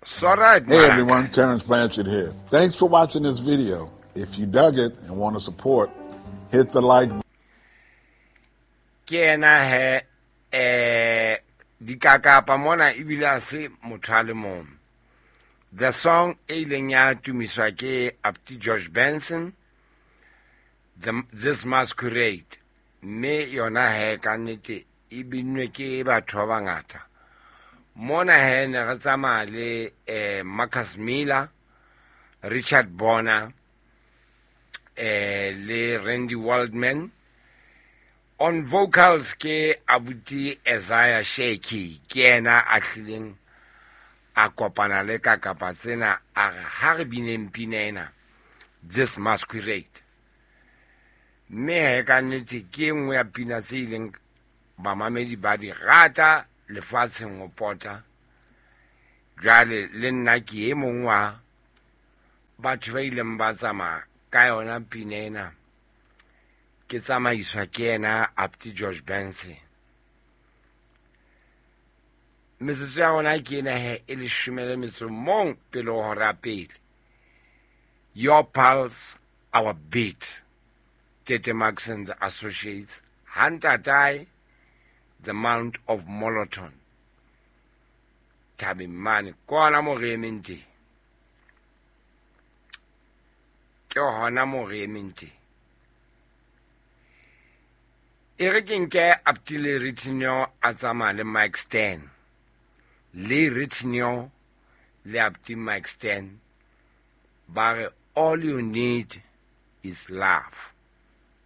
So right, Hey everyone, Terence Blanchard here. Thanks for watching this video. If you dug it and want to support, hit the like Ke yena he eh dikakapa mona ebile a se motho a le mong. The song e ileng ya tumiswa ke Apti George Benson, This Masquerade, mme yona he ka nnete e binnwe ke batho ba bangata. Mona he ne re tsamaya le Marcus Miller, Richard Bona, le Randy Waldman. On vocals ke abuti Isaiah Sheki, ke yena a hlileng a kopana le kakapa tsena a re ha re bineng pina ena, This Masquerade. Mme he ka nnete ke e nngwe ya pina tse ileng bamamedi ba di rata lefatsheng ho pota. Jwale le nna ke e mong wa batho ba ileng ba tsamaya ka yona pina ena, ke tsamaiswa ke yena Apti George Benson. Metsotso ya rona ke ena he e leshome le metso mong pele ho hora pele. Your pulse, our beat. Tete Max and the Associates, Hantatae, the Mount of Moloton. Thabeng mane, ke hona moo re emeng teng. Ke hona moo re emeng teng. E re ke nke Aptile Ritinyo a tsamaya le Mike Stern. Le Ritinyo le Apti Mike Stern ba re all you need is love.